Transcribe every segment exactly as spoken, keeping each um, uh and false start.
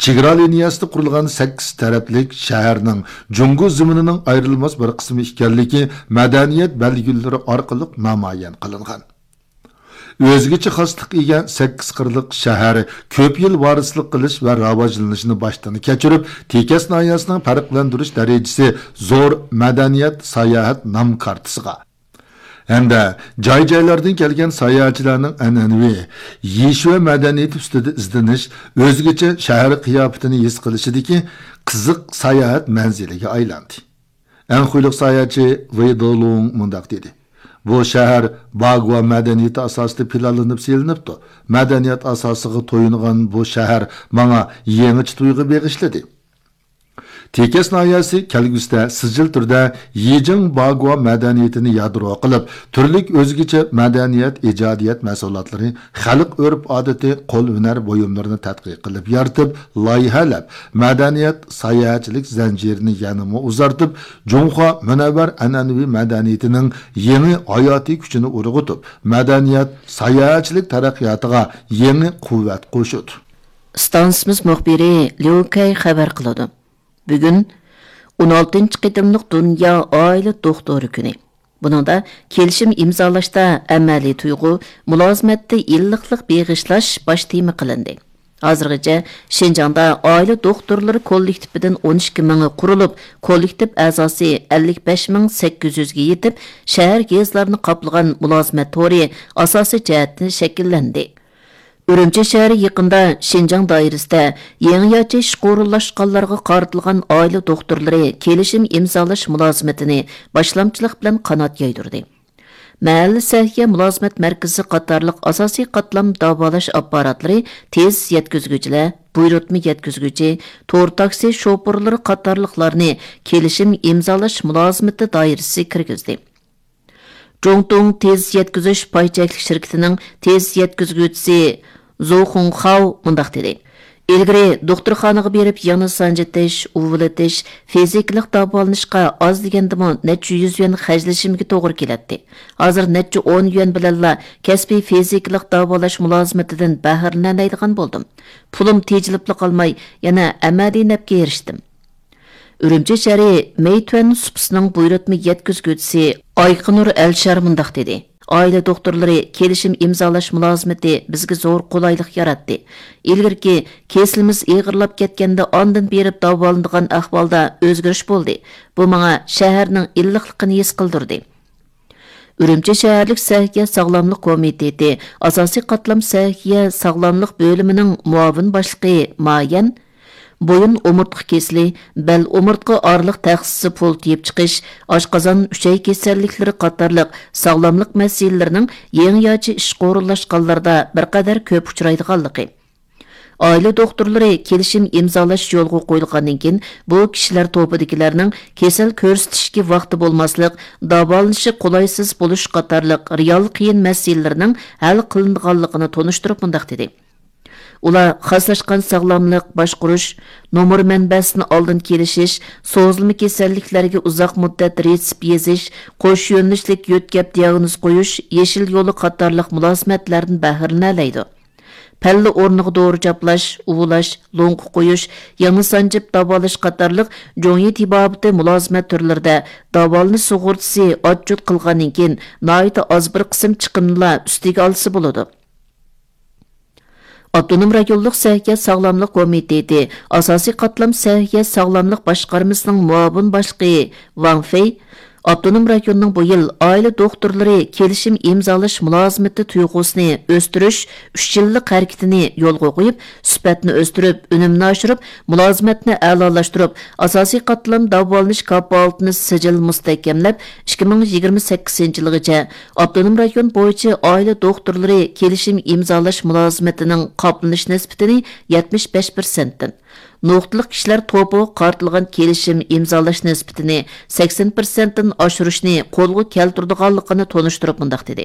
چېگرا لىنىيەسىدە قۇرۇلغان سەككىز تەرەپلىك شەھەرنىڭ جۇڭگو زېمىنىنىڭ ئايرىلماس بىر قىسمى ئىكەنلىكى مەدەنىيەت بەلگىلىرى ئارقىلىق نامايان قىلىنغان. ئۆزگىچە خاسلىققا ئىگە سەككىز قىرلىق شەھەر كۆپ يىل ۋارىسلىق قىلىش ۋە راۋاجلىنىشنى باشتىن كەچۈرۈپ، تېكەس ناھىيەسىنىڭ پەرقلەندۈرۈش دەرىجىسى زور مەدەنىيەت ساياھەت نام كارتىسىغا ھەمدە جاي-جايلاردىن كەلگەن ساياھەتچىلەرنىڭ ئەنئەنىۋى يېشىۋە مەدەنىيىتى ئۈستىدە ئىزدىنىش، ئۆزگىچە شەھەر قىياپىتىنى ھېس قىلىشىدىكى قىزىق ساياھەت مەنزىلىگە ئايلاندى. ئەنخۇيلۇق ساياھەتچى ۋېي دولۇڭ مۇنداق دېدى: «بۇ شەھەر باگۋا مەدەنىيىتى ئاساسىدا پىلانلىنىپ سېلىنىپتۇ. مەدەنىيەت ئاساسىغا تويۇنغان بۇ شەھەر ماڭا يېڭىچە تۇيغۇ بېغىشلىدى.» تېكەس ناھىيەسى كەلگۈسىدە سىجىل تۈردە يىجىڭ باگۋا مەدەنىيىتىنى يادرو قىلىپ، تۈرلۈك ئۆزگىچە مەدەنىيەت، ئىجادىيەت مەھسۇلاتلىرى، خەلق ئۆرپ-ئادىتى، قول ھۈنەر بۇيۇملىرىنى تەتقىق قىلىپ يارىتىپ، لايىھەلەپ، مەدەنىيەت ساياھەتچىلىك زەنجىرىنى يەنىمۇ ئۇزارتىپ، جۇڭخۇا مۇنەۋۋەر ئەنئەنىۋى مەدەنىيىتىنىڭ يېڭى ھاياتىي كۈچىنى ئۇرغۇتۇپ، مەدەنىيەت ساياھەتچىلىك تەرەققىياتىغا يېڭى قۇۋۋەت قوشىدۇ. ئىستانسىمىز مۇخبىرى ليۇ كەي خەۋەر قىلىدۇ. بۈگۈن ئون ئالتىنچى قېتىملىق دۇنيا ئائىلە دوختۇرى كۈنى. بۇنىڭدا كېلىشىم ئىمزالاشتا ئەمەلىي تۇيغۇ، مۇلازىمەتتە ئىللىقلىق بېغىشلاش باش تېما قىلىندى. ھازىرغىچە شىنجاڭدا ئائىلە دوختۇرلىرى كوللېكتىپىدىن ئون ئىككى مىڭى قۇرۇلۇپ، كوللېكتىپ ئەزاسى ئەللىك بەش مىڭ سەككىز يۈزگە يېتىپ، شەھەر، يېزىلارنى قاپلىغان مۇلازىمەت تورى ئاساسىي جەھەتتىن شەكىللەندى. ئۈرۈمچى شەھىرى يېقىندا شىنجاڭ دائىرىسىدە يېڭىچە ئىشقا ئورۇنلاشقانلارغا قارىتىلغان ئائىلە دوختۇرلىرى كېلىشىم ئىمزالاش مۇلازىمىتىنى باشلامچىلىق بىلەن قانات يايدۇردى. مەھەللە سەھىيە مۇلازىمەت مەركىزى قاتارلىق ئاساسىي قاتلام داۋالاش ئاپپاراتلىرى تېز يەتكۈزگۈچىلەر، بۇيرۇتما يەتكۈزگۈچى، تور تاكسى شوپۇرلىرى قاتارلىقلارنى كېلىشىم ئىمزالاش مۇلازىمىتى دائىرىسىگە كىرگۈزدى. جۇڭتۇڭ تېز يەتكۈزۈش پاي چەكلىك شىركىتىنىڭ تېز يەتكۈزگۈچىسى زۇ خۇڭخاۋ مۇنداق دېدى: «ئىلگىرى دوختۇرخانىغا بېرىپ يىڭنە سانجىتىش، ئۇۋىلىتىش، فىزىكىلىق داۋالىنىشقا ئاز دېگەندىمۇ نەچچە يۈز يۈەن خەجلىشىمگە توغرا كېلەتتى. ھازىر نەچچە ئون يۈەن بىلەنلا كەسپىي فىزىكىلىق داۋالاش مۇلازىمىتىدىن بەھرىلىنەلەيدىغان بولدۇم. پۇلۇم تېجىلىپلا قالماي، يەنە ئەمەلىي نەپكە ئېرىشتىم.» ئۈرۈمچى شەھىرى مېيتۈەن سۇپىسىنىڭ بۇيرۇتما يەتكۈزگۈچىسى ئايقىنۇر ئەلشار مۇنداق دېدى: «ئائىلە دوختۇرلىرى كېلىشىم ئىمزالاش مۇلازىمىتى بىزگە زور قولايلىق ياراتتى. ئىلگىرىكى كېسىلىمىز ئېغىرلاپ كەتكەندە ئاندىن بېرىپ داۋالىنىدىغان ئەھۋالدا ئۆزگىرىش بولدى. بۇ ماڭا شەھەرنىڭ ئىللىقلىقىنى ھېس قىلدۇردى.» ئۈرۈمچى شەھەرلىك سەھىيە ساغلاملىق كومىتېتى ئاساسىي قاتلام سەھىيە ساغلاملىق بۆلۈمىنىڭ مۇئاۋىن باشلىقى مايەن بويۇن ئومۇرتقا كېسىلى، بەل ئومۇرتقا ئارىلىق تەخسىسى پۇل تېيىپ چىقىش، ئاشقازان، ئۈچەي كېسەللىكلىرى قاتارلىق ساغلاملىق مەسىلىلىرىنىڭ يېڭىچە ئىشقا ئورۇنلاشقانلاردا بىر قەدەر كۆپ ئۇچرايدىغانلىقى، ئائىلە دوختۇرلىرى كېلىشىم ئىمزالاش يولغا قويۇلغاندىن كېيىن، بۇ كىشىلەر توپىدىكىلەرنىڭ كېسەل كۆرسىتىشكە ۋاقتى بولماسلىق، داۋالىنىشى قولايسىز بولۇش قاتارلىق رېئال قىيىن مەسىلىلەرنىڭ ھەل قىلىنىدىغانلىقىنى تونۇشتۇرۇپ مۇنداق دېدى: ئۇلار خاسلاشقان ساغلاملىق باشقۇرۇش، نومۇر مەنبەسىدىن ئالدىن كېلىشىش، سوزۇلما كېسەللىكلەرگە ئۇزاق مۇددەت رېتسېپ يېزىش، قوش يۆنىلىشلىك يۆتكەپ دىئاگنوز قويۇش، يېشىل يولى قاتارلىق مۇلازىمەتلەردىن بەھرىلىنەلەيدۇ. پەللە ئورنىغا دورا چاپلاش، ئۇۋۇلاش، لوڭقا قويۇش، يىڭنە سانجىپ داۋالاش قاتارلىق جۇڭيى تېبابىتى مۇلازىمەت تۈرلىرىدە داۋالىنىش سۇغۇرتىسى ئاتچوت قىلغاندىن كېيىن، ناھايىتى ئاز بىر قىسىم چىقىمنىلا ئۈستىگە ئالسا بولىدۇ. ئاپتونوم رايونلۇق سەھىيە ساغلاملىق كومىتېتى ئاساسىي قاتلام سەھىيە ساغلاملىق باشقارمىسىنىڭ مۇئاۋىن باشلىقى ۋاڭ فېي ئاپتونوم رايوننىڭ بۇ يىل ئائىلە دوختۇرلىرى كېلىشىم ئىمزالاش مۇلازىمىتى تۇيغۇسىنى ئۆستۈرۈش ئۈچ يىللىق ھەرىكىتىنى يولغا قويۇپ، سۈپەتنى ئۆستۈرۈپ، ئۈنۈمنى ئاشۇرۇپ، مۇلازىمەتنى ئەلالاشتۇرۇپ، ئاساسىي قاتلام داۋالىنىش كاپالىتىنى سىجىل مۇستەھكەملەپ، ئىككى مىڭ يىگىرمە سەككىزىنچى يىلىغىچە ئاپتونوم رايون بويىچە ئائىلە دوختۇرلىرى كېلىشىم ئىمزالاش مۇلازىمىتىنىڭ قاپلىنىش نىسبىتىنى يەتمىش بەش پىرسەنتتىن، نۇقتىلىق كىشىلەر توپىغا قارىتىلغان كېلىشىم ئىمزالاش نىسبىتىنى سەكسەن پىرسەنتتىن ئاشۇرۇشنى قولغا كەلتۈرىدىغانلىقىنى تونۇشتۇرۇپ مۇنداق دېدى: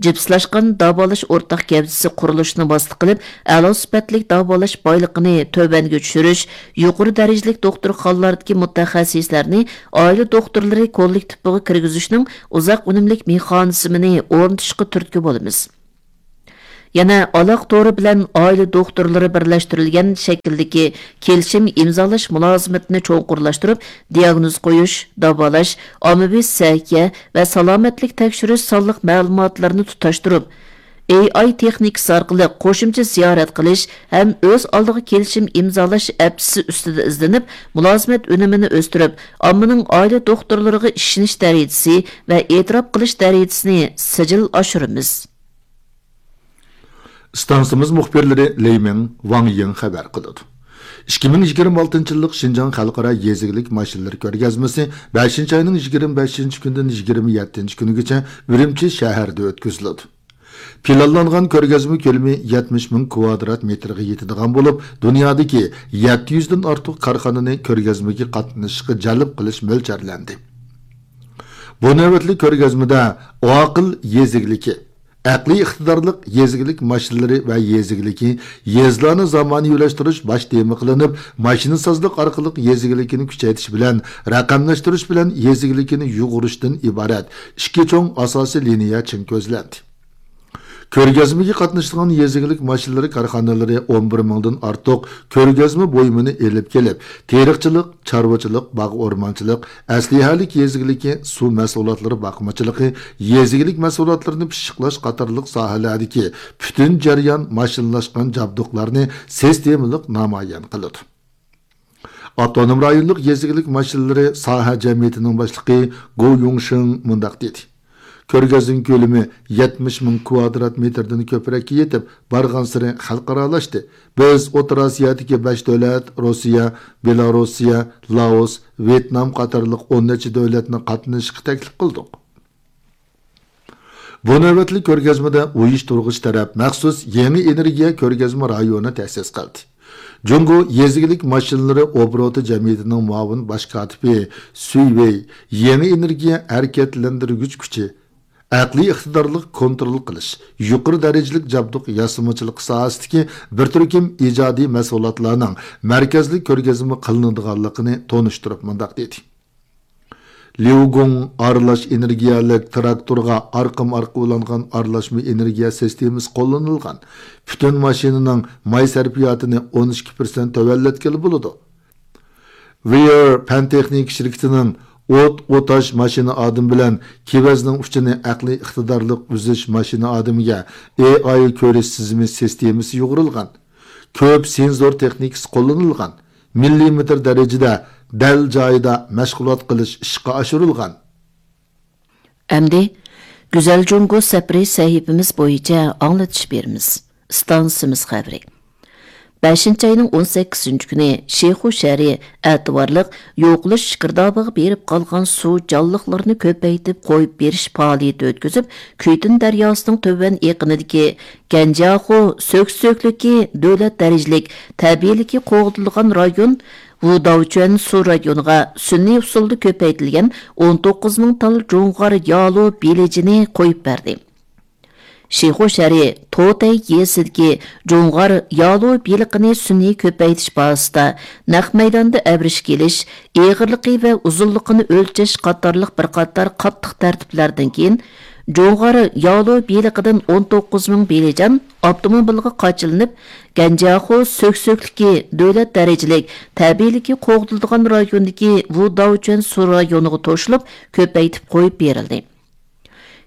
«جىپسلاشقان داۋالاش ئورتاق گەۋدىسى قۇرۇلۇشىنى ۋاسىتە قىلىپ، ئەلا سۈپەتلىك داۋالاش بايلىقىنى تۆۋەنگە چۈشۈرۈش، يۇقىرى دەرىجىلىك دوختۇرخانىلاردىكى مۇتەخەسسىسلەرنى ئائىلە دوختۇرلىرى كوللېكتىپىغا كىرگۈزۈشنىڭ ئۇزاق ئۈنۈملۈك مېخانىزمىنى ئورنىتىشقا تۈرتكە بولىمىز.» يەنە ئالاقە تورى بىلەن ئائىلە دوختۇرلىرى بىرلەشتۈرۈلگەن شەكىلدىكى كېلىشىم ئىمزالاش مۇلازىمىتىنى چوڭقۇرلاشتۇرۇپ، دىياگنوز قويۇش، داۋالاش، ئاممىۋى سەھىيە ۋە سالامەتلىك تەكشۈرۈش سانلىق مەلۇماتلىرىنى تۇتاشتۇرۇپ، ئېي ئاي تېخنىكىسى ئارقىلىق قوشۇمچە زىيارەت قىلىش ھەم ئۆز ئالدىغا كېلىشىم ئىمزالاش ئەپچىسى ئۈستىدە ئىزدىنىپ، مۇلازىمەت ئۈنۈمىنى ئۆستۈرۈپ، ئاممىنىڭ ئائىلە دوختۇرلىرىغا ئىشىنىش دەرىجىسى ۋە ئېتىراپ قىلىش دەرىجىسىنى سىجىل ئاشۇرىمىز. ئىستانسىمىز مۇخبىرلىرى لېي مىڭ، ۋاڭ يىڭ خەۋەر قىلىدۇ. ئىككى مىڭ يىگىرمە ئالتىنچى يىللىق شىنجاڭ خەلقئارا يېزا ئىگىلىك ماشىنىلىرى كۆرگەزمىسى بەشىنچى ئاينىڭ يىگىرمە بەشىنچى كۈنىدىن يىگىرمە يەتتىنچى كۈنىگىچە ئۈرۈمچى شەھىرىدە ئۆتكۈزۈلىدۇ. پىلانلانغان كۆرگەزمە كۆلىمى يەتمىش مىڭ كۋادرات مېتىرغا يېتىدىغان بولۇپ، دۇنيادىكى يەتتە يۈزدىن ئارتۇق كارخانىنى كۆرگەزمىگە قاتنىشىشقا جەلپ قىلىش مۆلچەرلەندى. بۇ نۆۋەتلىك كۆرگەزمىدە ئاقىل يېزا ئىگىلىكى، ئەقلىي ئىقتىدارلىق يېزا ئىگىلىك ماشىنىلىرى ۋە يېزا ئىگىلىكى، يېزىلارنى زامانىۋىلاشتۇرۇش باش تېما قىلىنىپ، ماشىنىسازلىق ئارقىلىق يېزا ئىگىلىكىنى كۈچەيتىش بىلەن رەقەملەشتۈرۈش بىلەن يېزا ئىگىلىكىنى يۇغۇرۇشتىن ئىبارەت ئىككى چوڭ ئاساسىي لىنىيە چىڭ كۆزلەندى. كۆرگەزمىگە قاتنىشىدىغان يېزا ئىگىلىك ماشىنىلىرى كارخانىلىرى ئون بىر مىڭدىن ئارتۇق كۆرگەزمە بۇيۇمىنى ئېلىپ كېلىپ، تېرىقچىلىق، چارۋىچىلىق، باغ ئورمانچىلىق، ئەسلىھەلىك يېزا ئىگىلىكى، سۇ مەھسۇلاتلىرى باقمىچىلىقى، يېزا ئىگىلىك مەھسۇلاتلىرىنى پىششىقلاش قاتارلىق ساھەلەردىكى پۈتۈن جەريان ماشىنىلاشقان جابدۇقلارنى سىستېمىلىق نامايان قىلىدۇ. ئاپتونوم رايونلۇق يېزا ئىگىلىك ماشىنىلىرى ساھە جەمئىيىتىنىڭ باشلىقى گو يۇڭشېڭ مۇنداق دېدى: كۆرگەزمە كۆلىمى يەتمىش مىڭ كۋادرات مېتىردىن كۆپرەككە يېتىپ، بارغانسېرى خەلقئارالاشتى. بىز ئوتتۇرا ئاسىيادىكى بەش دۆلەت، روسىيە، بېلاروسىيە، لائوس، ۋيېتنام قاتارلىق ئون نەچچە دۆلەتنى قاتنىشىشقا تەكلىپ قىلدۇق. بۇ نۆۋەتلىك كۆرگەزمىدە ئۇيۇشتۇرغۇچى تەرەپ مەخسۇس يېڭى ئېنېرگىيە كۆرگەزمە رايونى تەسىس قىلدى. جۇڭگو يېزا ئىگىلىك ماشىنىلىرى ئوبوروتى جەمئىيىتىنىڭ مۇئاۋىن باش كاتىپى سۈي ۋېي يېڭى ئېنېرگىيە ھەرىكەتلەندۈرگۈچ كۈچى، ئەقلىي ئىقتىدارلىق كونترول قىلىش، يۇقىرى دەرىجىلىك جابدۇق ياسىمىچىلىقى ساھەسىدىكى بىر تۈركۈم ئىجادىي مەھسۇلاتلارنىڭ مەركەزلىك كۆرگەزمە قىلىنىدىغانلىقىنى تونۇشتۇرۇپ مۇنداق دېدى: ليۇگۇڭ ئارىلاش ئېنېرگىيەلىك تىراكتورغا ئارقىمۇ ئارقا ئۇلانغان ئارىلاشما ئېنېرگىيە سىستېمىسى قوللىنىلغان. پۈتۈن ماشىنىنىڭ ماي سەرپىياتىنى ئون ئىككى پىرسەنت تۆۋەنلەتكىلى بولىدۇ. ۋېير پەن تېخنىكا شىركىتىنىڭ ئوت ئوتاش ماشىنا ئادىمى بىلەن كېۋەزنىڭ ئۇچىنى ئەقلىي ئىقتىدارلىق ئۈزۈش ماشىنا ئادىمىگە ئېي ئاي كۆرۈش تىزىمى سىستېمىسى يۇغۇرۇلغان. كۆپ سېنزور تېخنىكىسى قوللىنىلغان. مىللىمېتىر دەرىجىدە دەل جايىدا مەشغۇلات قىلىش ئىشقا ئاشۇرۇلغان. ئەمدى گۈزەل جۇڭگو سەپىرى سەھىپىمىز بويىچە ئاڭلىتىش بېرىمىز. ئىستانسىمىز خەۋىرى. بەشىنچى ئاينىڭ ئون سەككىزىنچى كۈنى شىخۇ شەھىرى ئەتىۋارلىق يوقىلىش گىردابىغا بېرىپ قالغان سۇ جانلىقلىرىنى كۆپەيتىپ قويۇپ بېرىش پائالىيىتى ئۆتكۈزۈپ، كۈيتۈن دەرياسىنىڭ تۆۋەن ئېقىنىدىكى گەنجياخۇ سۆكسۆكلۈكى دۆلەت دەرىجىلىك تەبىئىيلىكى قوغدىلىدىغان رايون ۋۇداۋچۈەن سۇ رايونىغا سۈنئىي ئۇسۇلدا كۆپەيتىلگەن ئون توققۇز مىڭ تال جۇڭغار يالۇ بېلىجىنى قويۇپ بەردى. شىخۇ شەھىرى توتەي يېزىسىدىكى جۇڭغار يالۇ بېلىقىنى سۈنئىي كۆپەيتىش بازىسىدا نەق مەيداندا ئەۋرىشكە ئېلىش، ئېغىرلىقى ۋە ئۇزۇنلۇقىنى ئۆلچەش قاتارلىق بىر قاتار قاتتىق تەرتىپلەردىن كېيىن، جۇڭغار يالۇ بېلىقىدىن ئون توققۇز مىڭ بېلىجان ئاپتوموبىلغا قاچىلىنىپ، گەنجياخۇ سۆكسۆكلۈكى دۆلەت دەرىجىلىك تەبىئىيلىكى قوغدىلىدىغان رايوندىكى ۋۇداۋچۈەن سۇ رايونىغا توشۇلۇپ، كۆپەيتىپ قويۇپ بېرىلدى.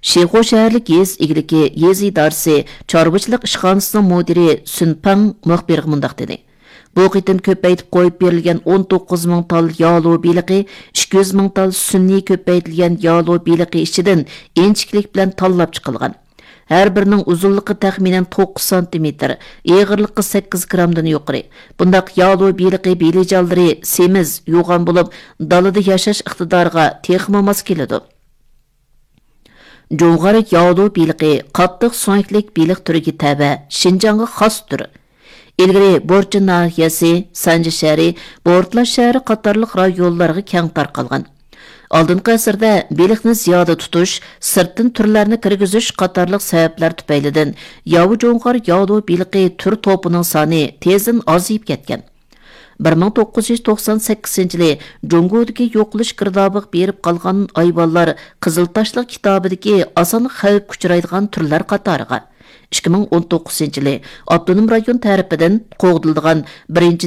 شىخۇ شەھەرلىك يېزا ئىگىلىكى يېزا ئىدارىسى چارۋىچىلىق ئىشخانىسىنىڭ مۇدىرى سۈن پاڭ مۇخبىرغا مۇنداق دېدى: بۇ قېتىم كۆپەيتىپ قويۇپ بېرىلگەن ئون توققۇز مىڭ تال يالۇ بېلىقى، ئىككى يۈز مىڭ تال سۈنئىي كۆپەيتىلگەن يالۇ بېلىقى ئىچىدىن ئىنچىكىلىك بىلەن تاللاپ چىقىلغان. ھەر بىرىنىڭ ئۇزۇنلۇقى تەخمىنەن توققۇز سانتىمېتىر، ئېغىرلىقى سەككىز گرامدىن يۇقىرى. بۇنداق يالۇ بېلىقى بېلىجانلىرى سېمىز، يوغان بولۇپ، دالىدا ياشاش ئىقتىدارىغا تېخىمۇ ماس كېلىدۇ. جۇڭغار ياۋلۇ بېلىقى قاتتىق سۆڭەكلىك بېلىق تۈرىگە تەۋە، شىنجاڭغا خاس تۈر. ئىلگىرى بورچىن ناھىيەسى، سانجى شەھىرى، بورتالا شەھىرى قاتارلىق رايونلارغا كەڭ تارقالغان. ئالدىنقى ئەسىردە بېلىقنى زىيادە تۇتۇش، سىرتتىن تۈرلەرنى كىرگۈزۈش قاتارلىق سەۋەبلەر تۈپەيلىدىن ياۋا جۇڭغار ياۋلۇ بېلىقى تۈر توپىنىڭ سانى تېزدىن ئازىيىپ كەتكەن. بىر مىڭ توققۇز يۈز توقسان سەككىزىنچى يىلى جۇڭگودىكى يوقىلىش گىردابىغا بېرىپ قالغان ھايۋانلار قىزىل تاشلىق كىتابىدىكى ئاسان خەۋپكە ئۇچرايدىغان تۈرلەر قاتارىغا، ئىككى مىڭ ئون توققۇزىنچى يىلى ئاپتونوم رايون تەرىپىدىن قوغدىلىدىغان بىرىنچى